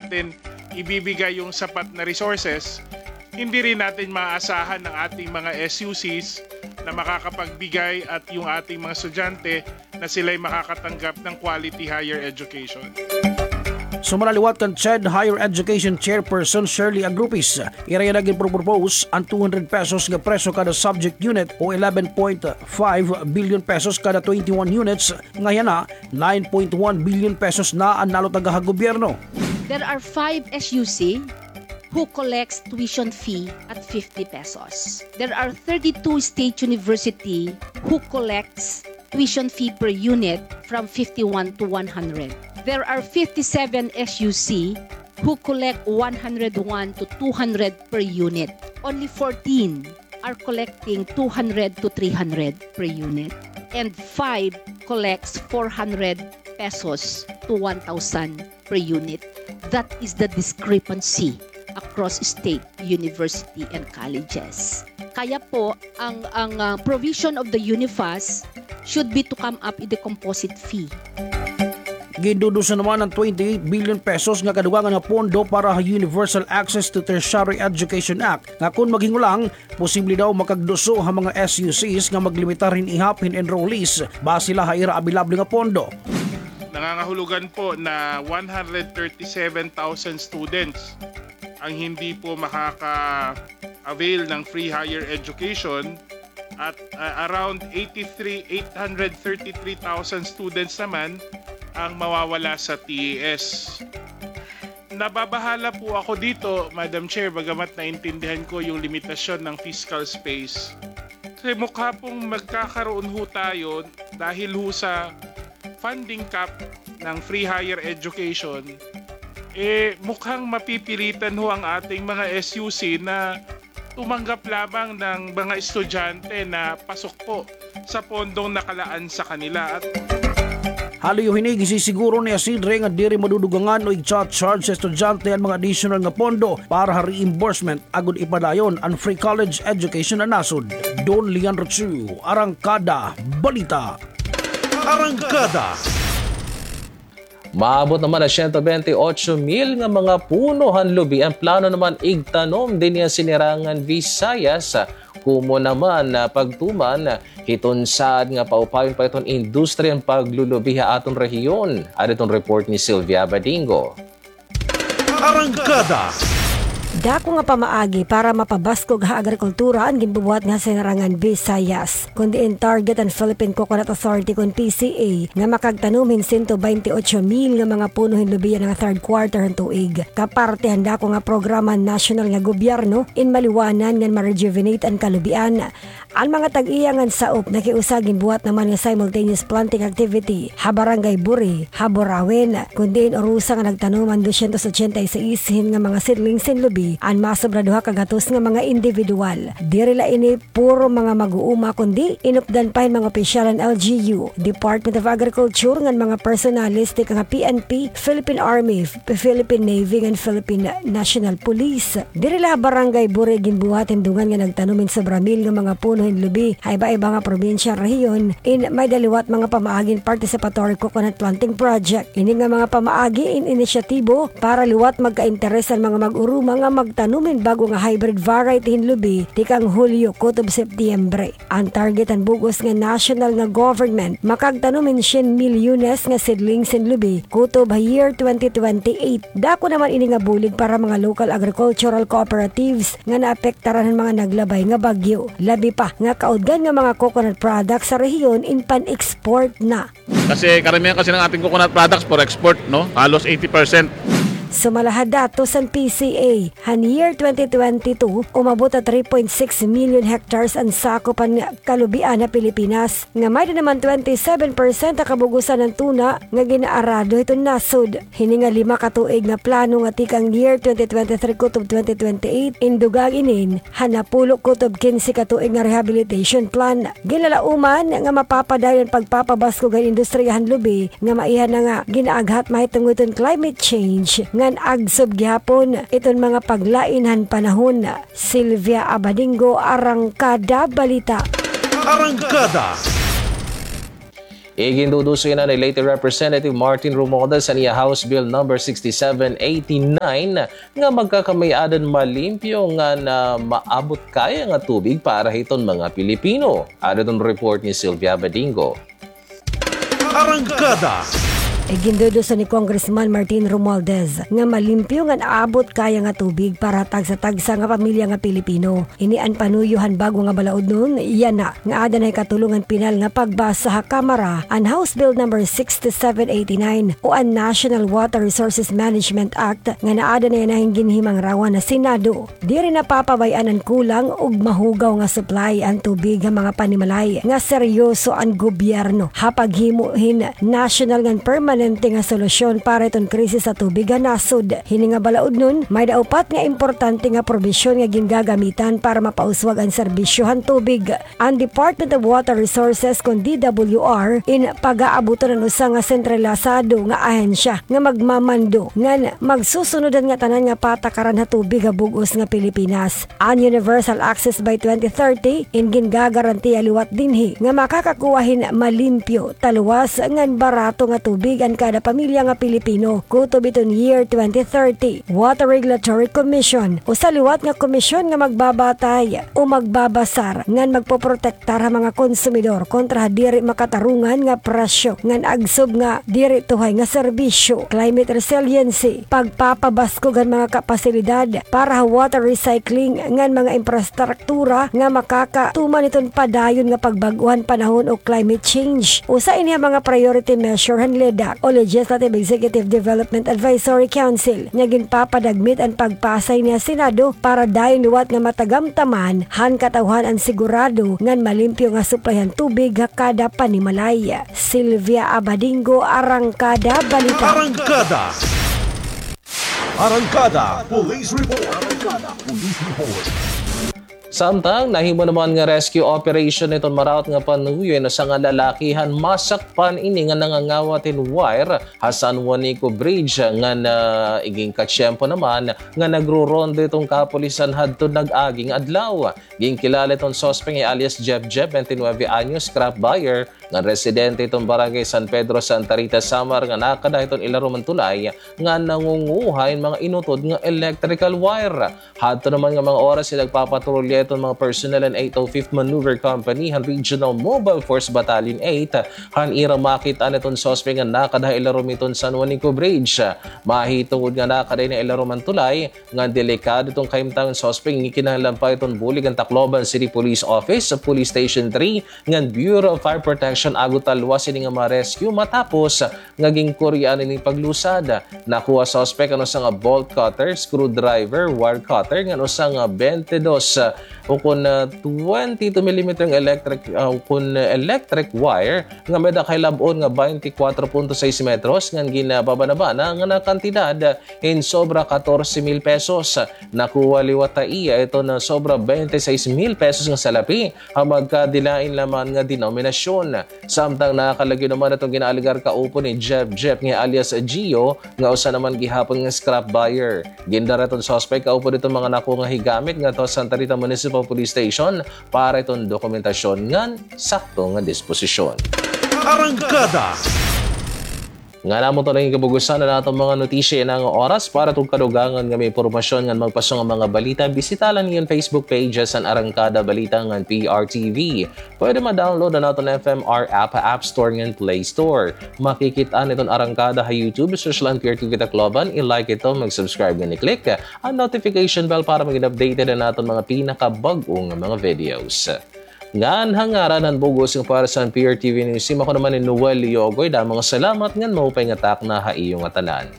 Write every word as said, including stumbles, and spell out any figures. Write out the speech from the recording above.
natin ibibigay yung sapat na resources, hindi rin natin maaasahan ang ating mga S U Cs na makakapagbigay at yung ating mga estudyante na sila'y makakatanggap ng quality higher education. Sumala liwat kan CHED Higher Education Chairperson Shirley Agrupis, ira yana ginpropropose an two hundred pesos nga presyo kada subject unit o eleven point five billion pesos kada twenty-one units, nga yana nine point one billion pesos na an nalutaga ha gobyerno. There are five S U C who collects tuition fee at fifty pesos. There are thirty-two state university who collects tuition fee per unit from fifty-one to one hundred. There are fifty-seven S U C who collect one hundred one to two hundred per unit. Only fourteen are collecting two hundred to three hundred per unit. And five collects four hundred pesos to one thousand per unit. That is the discrepancy across state university and colleges. Kaya po, ang, ang, ah, provision of the UNIFAS should be to come up with a composite fee. Gindudusa naman an twenty-eight billion pesos nga kadugangan nga pondo para ha Universal Access to Tertiary Education Act, nga kon maghingulang, posible daw makagduso ha mga S U Cs nga maglimitar hin ihap hin enrollees base la ha ira abilable nga pondo. Nangangahulugan po na one hundred thirty-seven thousand students ang hindi po makaka-avail ng free higher education at, ah, around eighty-three, eight hundred thirty-three thousand students naman ang mawawala sa T E S. Nababahala po ako dito, Madam Chair, bagamat naintindihan ko yung limitasyon ng fiscal space. Kasi mukha pong magkakaroon ho tayo dahil ho sa funding cap ng free higher education, eh, mukhang mapipilitan ho ang ating mga S U C na tumanggap lamang ng mga estudyante na pasok po sa pondong nakalaan sa kanila. At haliyo hini, gisisiguro ni Isidre nga diri madudugangan o igcha-charge sa estudyante an mga additional nga pondo para ha reimbursement agod ipadayon an free college education ha nasod. Don Leandro Chu, Arangkada Balita. Arangkada. Maabot naman an siyento bente otso mil nga mga puno han lubi an plano naman igtanom dinhi ha Sinirangan Visayas. Komo naman na pagtuman hiton saad nga paupayon pa iton industriya han paglulubi ha aton rehiyon. Adi iton report ni Sylvia Badingo. Arangkada. Dako nga pamaagi para mapabaskog ha agrikultura an ginbubuhat nga Sinirangan Visayas. Kon diin target an Philippine Coconut Authority kon P C A nga makagtanom hin siyento bente otso mil nga mga puno hin lubi yana nga third quarter han tuig. Kaparte han dako nga programa han nasyonal nga gobyerno in maliwanan ngan ma-rejuvenate an kalubian. An mga tag-iya ngan saop nakiusa ginbuhat naman nga simultaneous planting activity ha Barangay Buri, ha Burauen, kon diin urusa nga nagtanom an dosyentos otsenta y seis hin nga mga seedlings hin lubi an masobra duha ka gatos nga mga individual. Diri la ini puro mga mag-uuma, kundi inupdan pa hin mga opisyal han L G U, Department of Agriculture ngan mga personalis tikang ha P N P, Philippine Army, Philippine Navy ngan Philippine National Police. Diri la ha Barangay Buri ginbuhat hin dungan nga nagtanom hin sobra mil nga mga puno hin lubi ha iba-iba nga probinsya han rehiyon in may-ada liwat mga pamaagi hin Participatory Coconut Planting Project. Ini nga mga pamaagi in inisyatibo para liwat magka-interes an mga mag-uruma nga magtanom hin bag-o nga hybrid variety hin lubi tikang Hulyo kutob Setyembre. An target han bug-os nga national nga government makagtanom hin syen milyones nga seedlings hin lubi kutob ha year twenty twenty-eight. Dako naman ini nga bulig para mga local agricultural cooperatives nga naapektaran han mga naglabay nga bagyo. Labi pa nga kaudgan nga mga coconut products sa rehiyon in pan-export na. Kasi karamihan kasi ng ating coconut products for export, no? Halos eighty percent. Sumala ha datos han P C A, han year twenty twenty-two, umabot ha three point six million hectares an sakop han kalubian ha Pilipinas, nga may-ada naman twenty-seven percent ha kabug-osan han tuna nga gin-aarado hiton nasod. Hini nga lima ka tuig nga plano nga tikang year twenty twenty-three kutob twenty twenty-eight, in dugang inin ha napulo kutob kinse ka tuig nga rehabilitation plan. Ginlalauman nga mapapadayon an pagpapabaskog han industriya han lubi nga maiha na nga gin-aaghat mahitungod hiton climate change ngan agsob gihapon iton mga paglain han panahon. Sylvia Abadingo, Arangkada Balita. Arangkada. Iginduduso ini ni Leyte Representative Martin Romualdez an iya House Bill number sixty-seven eighty-nine nga magkakamay-adan malimpyo ngan maabot kaya nga tubig para hiton mga Pilipino. Adi iton report ni Sylvia Badingo. Arangkada. Iginduduso ni Congressman Martin Romualdez nga malimpyo ngan aabot kaya nga tubig para ha tagsa-tagsa nga pamilya nga Pilipino. Ini an panuyo han bag-o nga balaudnon, yana nga aada na hikatulo ngan pinal nga pagbasa ha Kamara an House Bill number sixty-seven eighty-nine o an National Water Resources Management Act nga naada na yana hin ginhimangrawan ha Senado. Diri na papabay-an an kulang ug mahugaw nga supply an tubig ha mga panimalay nga seryoso an gobyerno ha paghimo hin nasyonal ngan permanente nga solusyon para hiton krisis sa tubig ha nasod. Hini nga balaudnon, may-ada upat nga importante nga probisyon nga gingagamitan para mapauswag an serbisyo han tubig. An Department of Water Resources kon D W R in pagaabuton an usa nga sentralisado nga ahensya nga magmamando ngan magsusunod han ngatanan nga patakaran ha tubig ha bug-os nga Pilipinas. An universal access by twenty thirty in gingagarantiya liwat dinhi nga makakakuha hin malimpyo, taluwas ngan barato nga tubig an kada pamilya nga Pilipino kutob hiton year twenty thirty. Water Regulatory Commission, usa liwat nga komisyon nga magbabatay o magbabasar ngan magpoprotektar ha mga konsumidor kontra ha diri makatarungan nga presyo ngan agsob nga diri tuhay nga serbisyo. Climate resiliency, pagpapabaskog han mga kapasilidad para ha water recycling ngan mga infrastruktura nga makakatuman hiton padayon nga pagbag-o han panahon o climate change. Usa ini ha mga priority measure han LEDAC o Legislative Executive Development Advisory Council nga ginpapadagmit an pagpasa hini ha Senado para dayon liwat nga matagamtaman han katawhan an sigurado ngan malimpyo nga supply han tubig ha kada panimalay. Sylvia Abadingo, Arangkada Balita. Arangkada. Arangkada Police Report. Arangkada Police Report. Samtang nahimo naman nga rescue operation hiton maraot nga panuyo, usa nga lalaki han masakpan ini nga nangangawat hin wire ha San Juanico Bridge ngan iginkatsyempo naman nga nagrorondo iton kapulisan hadton nag-agi nga adlaw. Ginkilala iton suspek nga alias Jeb Jeb, twenty-nine anyos, scrap buyer, ngan residente hiton Barangay San Pedro, Santa Rita, Samar, nga nakada hiton ilarom han tulay nga nangunguha hin mga inutod nga electrical wire. Hadto naman nga mga oras, nagpapatrolya iton mga personnel han eight oh fifth Maneuver Company han Regional Mobile Force Battalion eight han ira makit-an iton suspek nga nakada ha ilarom hiton San Juanico Bridge. Mahitungod nga nakada ha ilarom han tulay, nga delikado iton kahimtang suspek, ngikinahanglan pa iton bulig an Tacloban City Police Office, Police Station three, ngan Bureau of Fire Protection agod talwas ini nga ma-rescue matapos nga ginkuryaan ini paglusad. Nakuha suspek an usa nga bolt cutter, screwdriver, wire cutter, ngan usa nga twenty-two, ah, ukon, ah, twenty-two millimeter nga electric, ah, ukon, ah, electric wire nga may-ada kahilab-on nga twenty-four point six metros ngan ginbabanabana nga nakantidad hin sobra katorse mil pesos. Nakuha liwat ha iya iton sobra twenty-six mil pesos nga salapi ha magkadilain naman nga denominasyon. Samtang nakalagyo naman iton ginaalegar kaupo ni Jeff Jeff nga alias Gio nga usa naman gihapon nga scrap buyer. Gindara iton suspek kaupo hiton mga nakuha nga higamit ngadto ha Santa Rita Municipal Police Station para iton dokumentasyon ngan sakto nga disposisyon. Arangkada. Ngan amo ito na it kabug-osan han aton mga notisya yana nga oras. Para ha aton kadugangan nga mga impormasyon ngan magpaso nga mga balita, bisita la niyo an Facebook pages han Arangkada Balita ngan P R T V. Pwede ma-download an aton F M R app ha App Store ngan Play Store. Makikit-an iton Arangkada ha YouTube, search la an P R T V Tacloban, i-like ito, mag-subscribe ngan i-click an notification bell para maging updated an aton mga pinakabag-o nga mga videos. Ngan ha ngaran han bug-os nga pares han P R T V News Team, ako naman hi Noel Yogoy. Damo nga salamat ngan maupay nga takna ha iyo ngatanan.